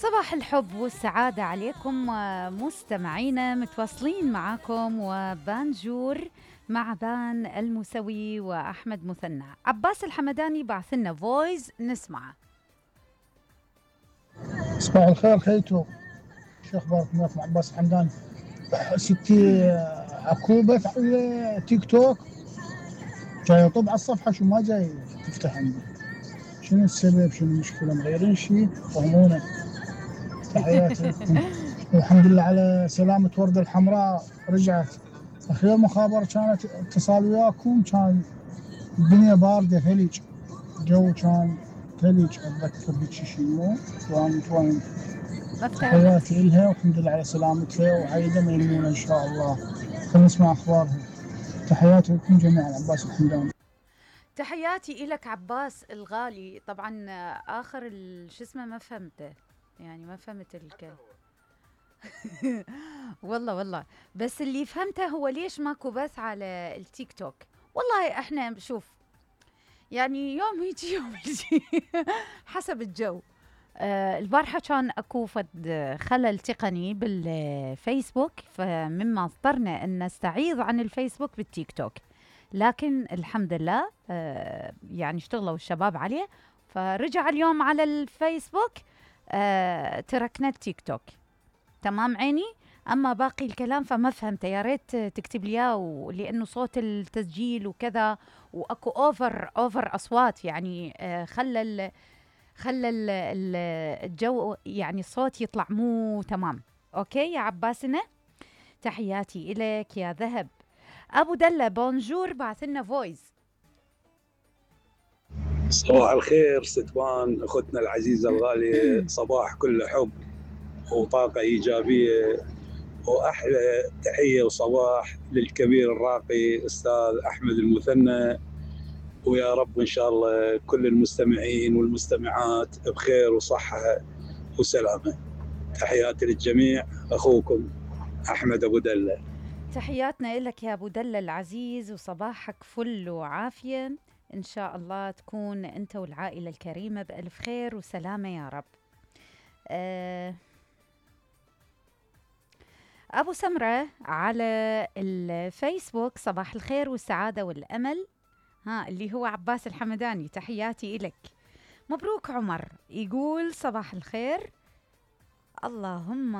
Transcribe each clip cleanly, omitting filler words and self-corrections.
صباح الحب والسعادة عليكم مستمعينا، متواصلين معاكم وبانجور مع بان المسوي وأحمد مثنى. عباس الحمداني بعث لنا فويس نسمعه. صباح الخير خيتو، شو اخبارك؟ معكم عباس الحمداني. ستي اكو بث على تيك توك جاي يطب على الصفحه، شو ما جاي تفتح عندي؟ شنو السبب؟ شنو المشكله؟ مغيرين شيء؟ فهمونا. تحياتي لكم والحمد لله على سلامة وردة الحمراء، رجعت. اخير مخابرة كانت اتصال وياكم، كان الدنيا باردة ثلج، الجو كان ثلج، اتذكر هيك شيء مو وين. تحياتي إلها والحمد لله على سلامتها، وعايدة ميمونة إن شاء الله. خلينا نسمع أخبارها. تحياتي لكم جميعا. عباس الحمداني. تحياتي إلك عباس الغالي. طبعا آخر شو اسمه ما فهمته، يعني ما فهمت والله بس اللي فهمته هو ليش ماكو بث على التيك توك. والله احنا شوف، يعني يوم يجي يوم يجي حسب الجو. البارحة كان اكو فد خلل تقني بالفيسبوك، فمما اضطرنا ان نستعيض عن الفيسبوك بالتيك توك، لكن الحمد لله يعني اشتغلوا الشباب عليه، فرجع اليوم على الفيسبوك. تركنا التيك توك. تمام عيني. اما باقي الكلام فما فهمته، يا ريت تكتب لي اياه، لانه صوت التسجيل وكذا، واكو اوفر اصوات، يعني خلى الجو، يعني الصوت يطلع مو تمام. اوكي يا عباسنا، تحياتي الك يا ذهب. ابو دله بونجور بعث لنا فويس. صباح الخير ستوان اختنا العزيزه الغاليه، صباح كله حب وطاقه ايجابيه، واحلى تحيه وصباح للكبير الراقي استاذ احمد المثنى، ويا رب ان شاء الله كل المستمعين والمستمعات بخير وصحه وسلامه. تحياتي للجميع، اخوكم احمد ابو دله. تحياتنا لك يا ابو دله العزيز، وصباحك فل وعافيه، ان شاء الله تكون انت والعائله الكريمه بالف خير وسلامه يا رب. أبو سمرة على الفيسبوك، صباح الخير والسعادة والأمل، اللي هو عباس الحمداني، تحياتي إلك. مبروك عمر، يقول صباح الخير، اللهم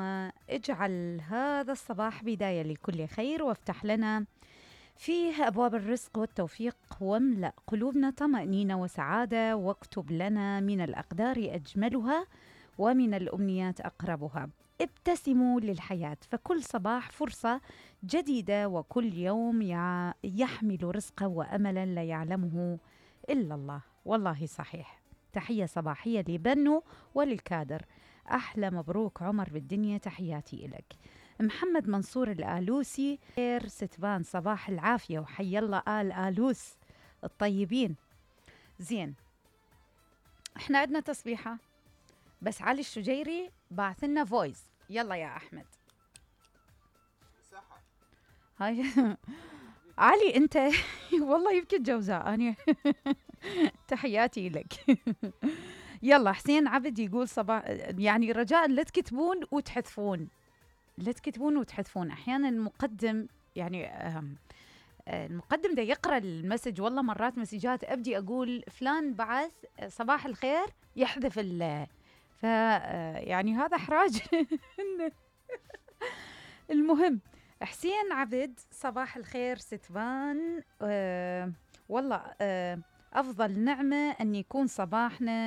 اجعل هذا الصباح بداية لكل خير، وافتح لنا فيه أبواب الرزق والتوفيق، واملأ قلوبنا طمأنينة وسعادة، واكتب لنا من الأقدار أجملها ومن الأمنيات أقربها. ابتسموا للحياة، فكل صباح فرصة جديدة، وكل يوم يحمل رزقا وأملا لا يعلمه إلا الله. والله صحيح. تحية صباحية لبنو وللكادر. أحلى مبروك عمر بالدنيا، تحياتي إلك. محمد منصور الآلوسي، خير ستبان، صباح العافية، وحي الله آل آلوس الطيبين. زين، احنا عندنا تصبيحة، بس علي الشجيري بعث لنا فويس. يلا يا احمد. هاي علي انت والله يبكي الجوزاء انا تحياتي لك. يلا حسين عبد يقول صباح، يعني رجاء لا تكتبون وتحذفون، لا تكتبون وتحذفون. احيانا المقدم يعني المقدم ده يقرأ المسج، والله مرات مسجات ابدي اقول فلان بعث صباح الخير يحذف ف يعني هذا احراج. المهم، حسين عبد صباح الخير ستبان. والله افضل نعمة ان يكون صباحنا